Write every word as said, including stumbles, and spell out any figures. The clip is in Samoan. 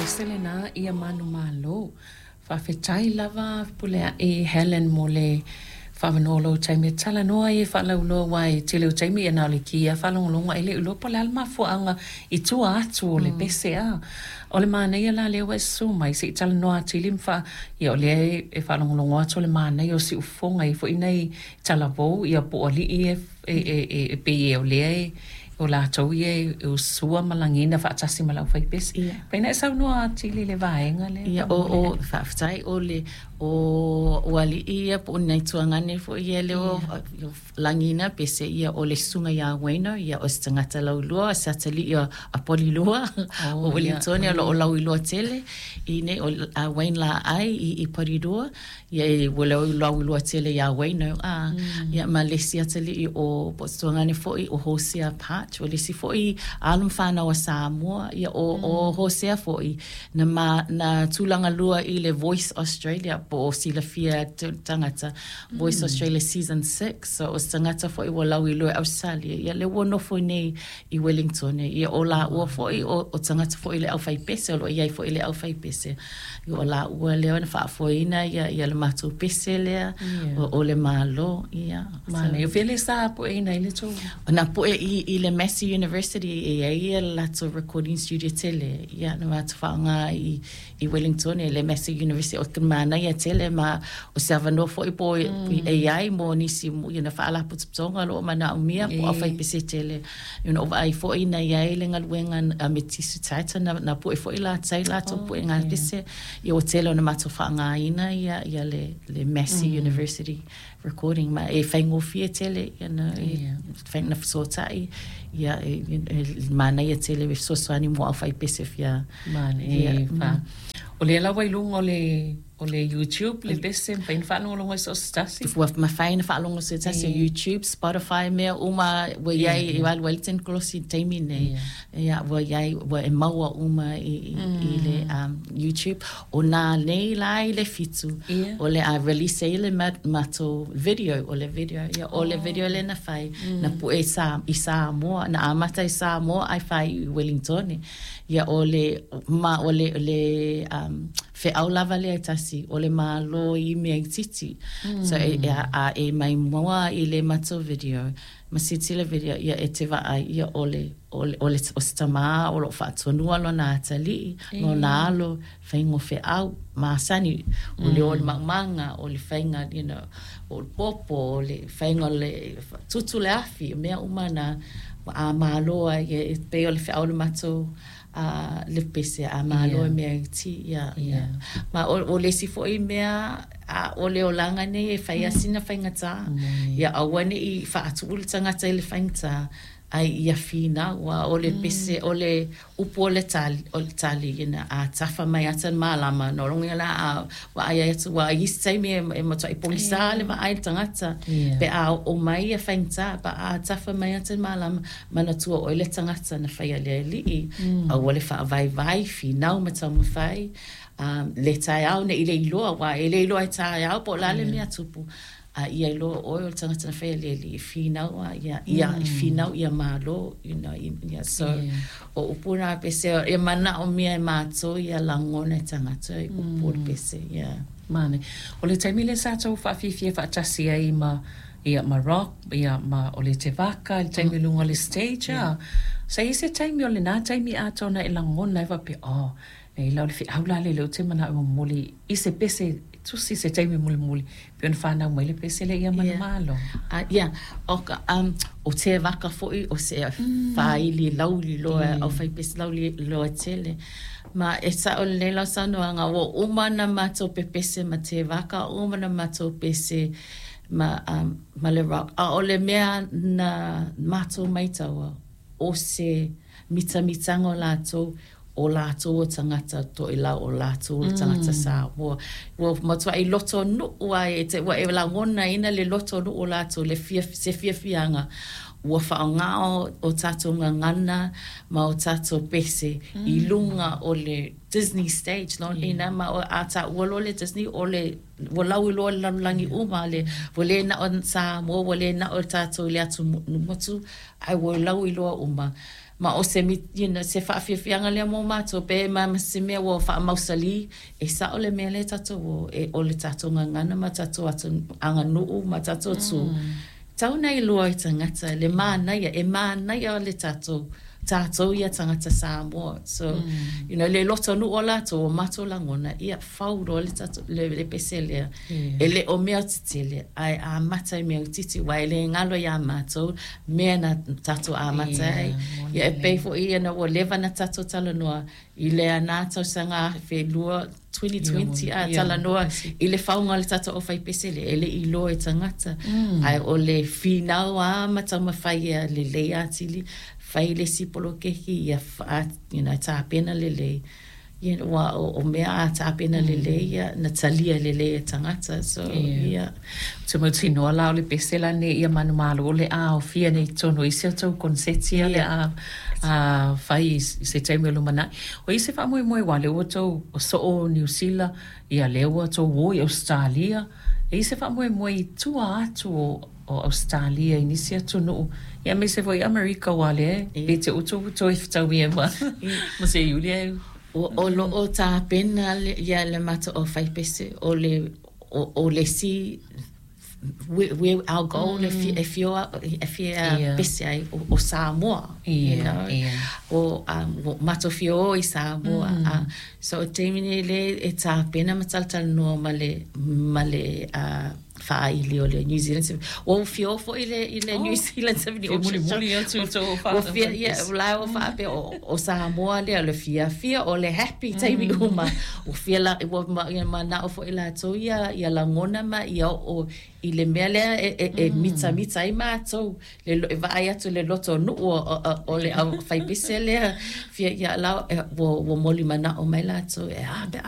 Pese lena ia manumalo. Faafetai lava Fepuleai Helen mo le faaavanoa o lou taimi e talanoa ai e faalauiloa aua e tele o taimi ia na o le ki lava faalogologo ae le o iloa po o le a le mafuaaga i tua atu o le pese a. O le manaia la lea ua e susu mai se i talanoa atili ma faa ia o lea e faalogologo atu o le manaia o siufofoga e i ai foi nai talavou ia po o alii ia e, e, e, e pei o lea e o latou ia e usua ma lagiina faatasi ma le aufaipese. Ia. Pei na e saunoa atili i le vaega lea. Ia, o, o, faafetai, o le, o, o alii ia po o nai tuagane foi ia lea o lagiina pese ia o le susuga ia Wayno, ia o se tagata laulua, o se atalii a, a Polilua, Oh, o Wellington, ia. o lo o lauiloa tele, i nei, o a Wayne Laai i, i Polilua, ia e ua lau lauiloa tele ia Wayno, a, ia ma le isi atalii o po o se tuagane foi o Hosea Patch, o le isi foi alo ma fanau a Samoa, ia o, o Hosea foi, na, ma, na tulaga lua i le Voice Australia, po o silafia tagata, Voice Australia Season six, so o se tagata foi ua lauiloa i Australia, ia le ua nofo nei i Wellington, ia o la ua foi, o, o tagata foi le aufaipese, o lo o iai foi le aufaipese, ia o la ua lea na faafoeina ia, ia le matou pese lea, Ia. o, o le Malo, ia. Manaia. O fea le sa pueina ai le tou? Na pue i, i le Massey University e ai ia latou recording studio tele. Ia, na matou faaaoga i, i Wellington e le Massey University o te manaia tele ma o se avanoa foi po mm. e ai mo nisi mo ia na faalapotopotoga o lo o manaomia po E. aufaipese tele. You know, vaai foi na iai le galuega a me Tisu Taita na, na pue foi latou latou oh, pue ngā pese. Ia o tele o na matou faaaogaina ia, ia le, le Massey mm. University recording ma e faigofie tele ia na e Ia. whai na fesoatai ia e, e, e manaia tele e fesoasoani mo aufaipese fia Manaia. Ia, E, fa. O lea lava i luga o le, o le YouTube, le pese, mafai ona faalogologo ai so o se tasi. Ua mafai na faalogo se tasi o E. YouTube, Spotify, mea uma ua iai e alu ai le tenikolosi i le taimi nei. Ia ua iai ua e maua uma i, i, i le um, YouTube. O nā nei la i le fitu, Ia. o le a release ai le ma- matou video, o le video, ia, o le video le na fai, na pue sa, i Samoa, na amata i Samoa ai fai i Wellington. Ia o le, ma o le, le um, feau lava lea e tasi, o le malo i mea itiiti. So e, e, a, e mai mua i le matou video, ma silasila video, ia e te vaai, ia o le, o le, o le, o se tamā o lo o faatonua lona atalii, lona alo, faiga o feau, masani, o le o le maumaga, o le faiga, you know, o le popo, o le faiga o le tutu le afi, mea uma na a malo ai, e e pei o le feau o le matou a le pese a malo Ia. e mea iti, ia, ia. Ia. Ma o, o le isi foi mea a o le olaga nei e fai lava sina faigata. Ia aua nei faatuu le tagata i le faigata, ai ia finau a o le pese o le upu o le tali, o le tali ina a tafa mai ata le malama no loga la a vaai ai atu ua i isi taimi e, e matuai pogisa le vaai le tagata. Ia. Pe a oo mai ia faigata pa a tafa mai ata le malama manatua ʻoe le tagata na faia le alii aua le faavaivai finau ma taumafai um, le taeao nei le iloa ua e le iloa e taeao po o le a le mea tupu a ia iloa ʻoe o le tagata na faia le alii e finau a ia ia e finau ia malo you know ia so Ia. o upu na pese e manaomia e matou ia lagona e tagata i upu o le pese ia. Manaia. O le taimi lea sa tou faafiafia faatasi ai ma ia ma Rock, ia ma o le Tevaka, le taimi i luga o le stage a. Sa i ai se taimi o lenā taimi atoa na e lagona ai faapea, oh, nei la o le feau la lea lea ou te manao e momoli i se pese tusi se taimi mulimuli. Pei ona fanau mai le pese lea ia manumalo. Ah, ia, o ka, um, o te vaka foi o se faili lauliloa, Ia. o faipese lauliloa tele. Ma e sa'o lelei lau saunoaga, ua uma na matou pepese ma te vaka, uma na matou pese ma, um, ma le Rock. A o le mea na matou maitaua, o se mitamitaga o latou, o latou o tagata toelau, o latou o tagata Samoa. Ua matuai loto nuu ai, e te, ua e lagonaina le loto nuu o latou, le fia, se fiafiaga. Ua faaaogā o, o tatou gagana ma o tatou pese i luga o le Disney stage. No, ina ma o a taua loa le Disney o le ua lauiloa le lalolagi uma le ua le na o Samoa, ua le na o tatou i le atumotu, ai ua lauiloa uma. Ma o se, you know, se faafiafiaga lea mo matou pe ma ma se mea ua faamausalī e sao le mea lea tatou o e o le tatou gagana ma tatou atu aganuu ma tatou tu. Tau na iloa i tagata le manaia e manaia le tatou tatou ia tagata Samoa. So, mm. you know, le lotonuu o latou o matou lagona, ia fau loa le, tatou, le, le pese lea. Yeah. E le o mea tetele, ae amata i mea itiiti, ua e le galo iā matou, mea na tatou amata ai. Yeah, Ia e pei foi ia na ua leva na tatou talanoa i le ana tausaga afe lua twenty twenty a Yeah. talanoa i le fauga o le tatou aufaipese lea e le iloa e tagata. Ae o le finau a ma taumafai ia lelei atili, fai le isi poloketi ia fa, you know, tapena lelei. You know, ua o, o mea a tapena lelei ia, na talia lelei e tagata. So, Yeah. yeah. Te mautinoa la o le pese la nei ia manumalo o le a ofia nei tonu i se tou konseti ia le a a fai i se taimi o lumanai. O i se faamoemoe wa le ua tou o soo Niu Sila ia le ua tou o i Australia. E i se faamoemoe i tua atu o o Australia i nisi atunuu. Ia me se foi Amerika wa le pe te utu utu i whataui e ma ma se iuli e. O, o lo o tapena le, ia le matou aufaipese o le o, o le si we, we our goal mm. e fia e fia Yeah. pese ai o, o Samoa, you Yeah, know yeah. o um, o matou fia o i Samoa mm. uh, so o taimi nei le e tapena ma talatalanoa ma le ma le uh, faaili o le New Zealand Symphony. Ua fia o foi i le, i le Oh. New Zealand Symphony Fia mulimuli atu i tō Ua fia, ia, la ua faapea o, o Samoa lea, o le fiafia, o le happy taimi uma. Ua fia la, ua ma, ia manao foi latou ia, ia lagona ma ia o i le mea lea e, e, e mitamita ai matou. Le, lo- e vaai atu le loto nuu o, o, o, o le aufaipese lea. Fia ia la, e, ua, ua moli manao mai latou, e a, pe a